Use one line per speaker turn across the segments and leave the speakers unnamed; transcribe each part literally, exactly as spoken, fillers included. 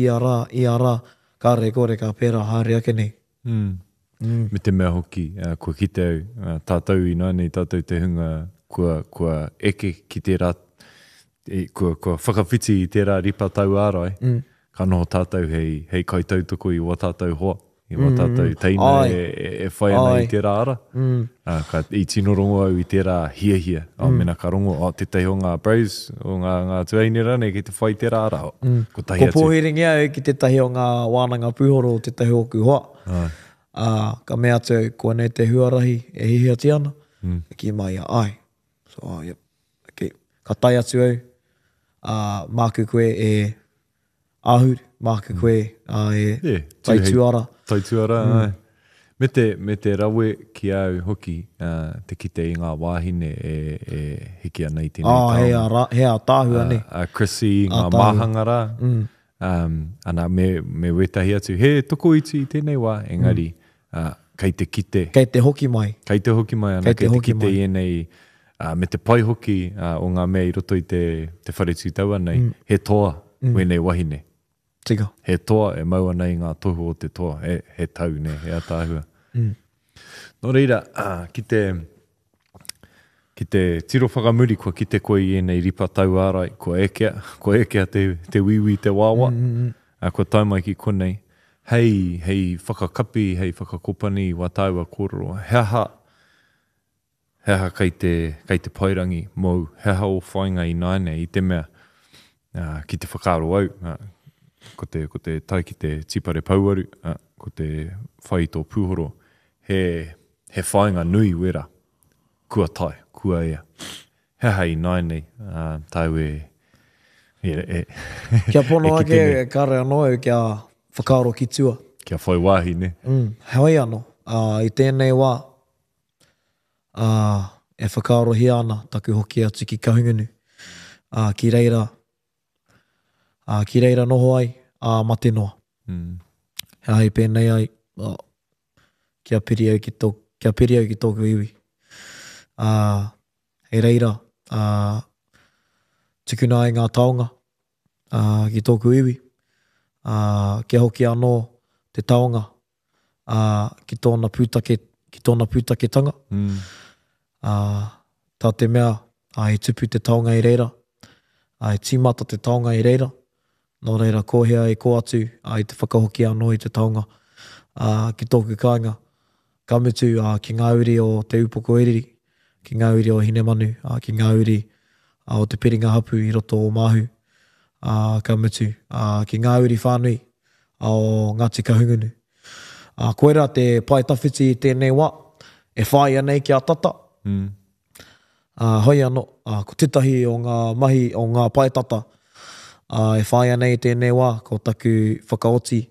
ia rā, ia rā, kāre kore ka pērā haere ake nei.
Mm.
Mm.
Me te mea hoki, uh, kua kite au, uh, tātou ināianei, tātou te hunga kua, kua eke ki tērā, e, kua, kua whakawhiti i tērā ripa tauārai,
Mm.
ka noho tātou hei, hei kaitautoko i wā tātou hoa, i wā tātou teina
Ai.
e, e, e whai ana
Ai.
i tērā ara.
Mm.
Uh, ka, i tino rongo au i tērā hiahia. Mm. Oh, mena ka rongo, oh, tētahi o ngā bros, o ngā, ngā tuahine rānei kei te whai tērā ara. Mm. Kotahi
Ko
atu.
pōhiringia au ki tētahi o ngā wānanga pūhoro o tētahi o ōku hoa.
Ai.
Ā, ka mea atu au, koinei te huarahi e hiahiatia ana.
Mm.
Ka kī mai ia, ai. So, oh, yep. Okay. Ka tae atu au, ā, māku koe e āhuru, māku koe ā, e
Yeah, tūhei.
taituara.
Taituara, mm. ai. Me te, me te rawe ki au hoki, uh, te kite i ngā wāhine e, e hiki ana i tēnei
Ā, he
taonga.
a, ra, he ātaahua, ne?
A, a Chrissy, ngā
Ātaahua.
māhanga rā,
Mm.
um, ana, me, me wētahi atu. He tokoiti i tēnei wā, engari, mm. uh, kei te kite,
Kei te hoki mai.
kei te hoki mai ana,
Kei te
kei te
hoki
kite
mai.
i ēnei, uh, me te pai hoki uh, o ngā mea i roto i te, te whare tūtaua nei, mm. he toa mm. wēnei wahine.
Tika.
He toa e mau ana i ngā tohu o te toa. He, he tau, ne, he ataahua.
Mm.
Nō reira, ah, ki te, ki te tiro whakamuri, kua kite koe i ēnei ripa tauārai, kua ekea, kua ekea te, te wīwī, te wāwā,
Mm, mm, mm.
ah, kua tae mai ki konei. Hei, hei whakakapi, hei whakakopani i wā tāua kōrero. He aha, he aha kei te, kei te paerangi mōu, he aha o whāinga ināianei i te mea, ah, ki te whakaaro au, ah, ko te, ko te tae ki te tīpare pouaru, ah, ko te whai i tō pūhoro, he, he whāinga nui wera, kua tae, kua ea. He aha ināianei, ah, tāu e, e, e,
Kia pono
e kite
ake,
nei.
kāre anō au kia whakaaro ki tua.
Kia whai wāhi, ne?
Mm, heoi anō, ā, i tēnei wā, ā, e whakaarohia ana taku hoki atu ki Kahungunu, ā, ki reira, ā, ki reira noho ai, ā, mate noa.
Mm.
He aha i pēnei ai, ā, kia piri au ki tō, kia piri au ki tōku iwi. Ā, hei reira, ā, tukuna ai ngā taonga, ā, ki tōku iwi, ā, kia hoki anō te taonga, ā, ki tōna pūtake, ki tōna pūtaketanga.
Mm.
Ā, tā te mea, ā, i tupu te taonga i reira, ā, i tīmata te taonga i reira, nō reira ko hea i kō atu, ā, i te whakahoki anō i te taonga, ā, ki tōku kāinga. Ka mutu, ā, ki ngā uri o Te Upoko Iriri, ki ngā uri o Hinemanu, ā, ki ngā uri ā, o Te Piringa Hapu i roto o Māhu, ā, ka mutu, ā, ki ngā uri whānui ā, o Ngāti Kahungunu. Ā, koirā te pae tawhiti i tēnei wā, e whāia nei kia tata.
Mm.
Ā, hoi anō, ā, ko tētahi o ngā mahi o ngā pae tata, ā, e whāia nei i tēnei wā, ko taku whakaoti,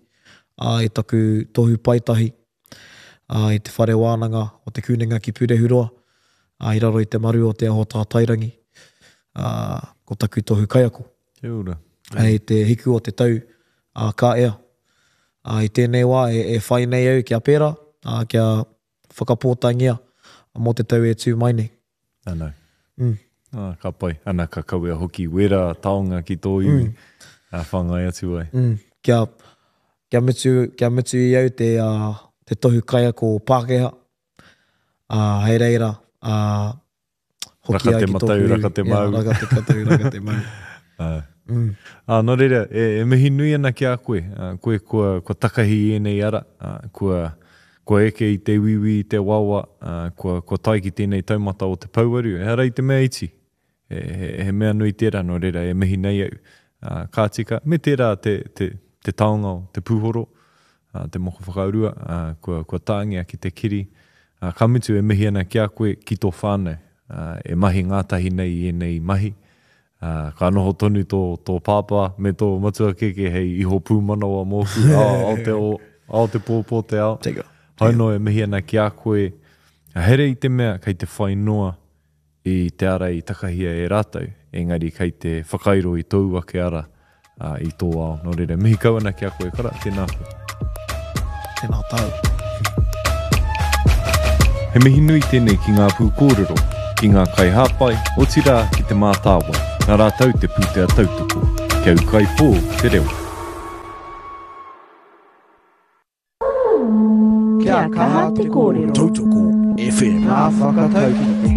ā, i taku tohu paetahi, ā, i te whare wānanga o Te Kunenga ki Pūrehuroa, ā, i raro i te maru o Te Aho Tātairangi, ā, ko taku tohu kaiako.
Kia ora.
Hei te hiku o te tau, ā, ka ea. Ā, i tēnei wā e, e whai nei au kia pērā, ā, kia whakapōtaengia mō te tau e tū mai nei.
Anau.
Mm.
Ah, ka pai. Ana, ka kawea hoki wera taonga ki tō iwi.
Mm.
Ā, whāngai atu ai.
Mm. Kia, kia mutu, kia mutu i au te, uh, te tohu kaiako Pākehā. Ā, hei reira, ā, hoki
Raka
ai
te
ki
matau,
tōku iwi.
raka te
Yeah,
mau.
raka te matau, raka te mau.
Ā.
Mm.
Ā, nō reira, e, e mihi nui ana ki a koe. Ā, koe kua, kua takahi i ēnei ara, ā, kua, kua eke i te wiwi, i te wawa, ā, kua, kua tae ki tēnei taumata o te pouaru. Ehara i te mea iti. He, he, he mea nui tērā, nō reira, e mihi nei au. Ā, ka tika, me tērā te, te, te taonga o te pūhoro, ā, te moko whakaurua, ā, kua, kua tāngia ki te kiri. Ā, ka mutu e mihi ana ki a koe, ki tō whānau, ā, e mahi ngātahi nei i ēnei mahi. Ā, ka noho tonu tō, tō pāpā me tō matua keke hei iho pūmanawa mōku, ao, ao te o, ao te pō, pō te ao.
Tika.
Hoi nō e mihi ana ki a koe, here i te mea kei te whai noa i te ara i takahia e rātou, engari kei te whakairo i tōu ake ara, ā, i tō ao. Nō reira, mihi kau ana ki a koe, kara, tēnā koe.
Tēnā tāu.
He mihi nui tēnei ki ngā pūkōrero, ki ngā kaihāpai, otirā ki te mātāwai, nā rātou te pūtea tautoko. Kia ūkaipō te reo.
Kia kaha te kōrero.
Tautoko FM.
Ngā whakatauki.